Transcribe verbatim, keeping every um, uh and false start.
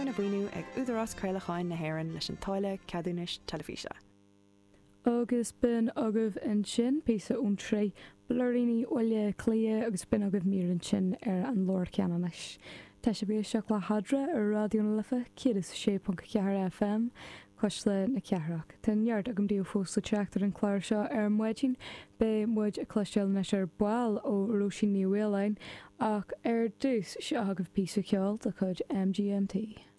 Arna mhaoiniú ag Údarás Craolacháin na hÉireann leis an táille ceadúnais teilifíse. Agus b'in agaibh ansin píosa ón tsraith Blúiríní Bhaile Átha Cliath agus b'in agaibh mír ansin ar an Lár Ceanannais. Tá sibh ag éisteacht le hEadra ar Raidió na Life céad is a sé ponc a ceathair FM, Cuisle na Cathrach. Tá neart agam daoibh fós le teacht ar an chlár seo ar maidin, beidh muid ag cloisteáil anois ar ball ó Róisín Ní Mhaoláin ach ar dtús seo agaibh píosa ceoil de chuid MGMT.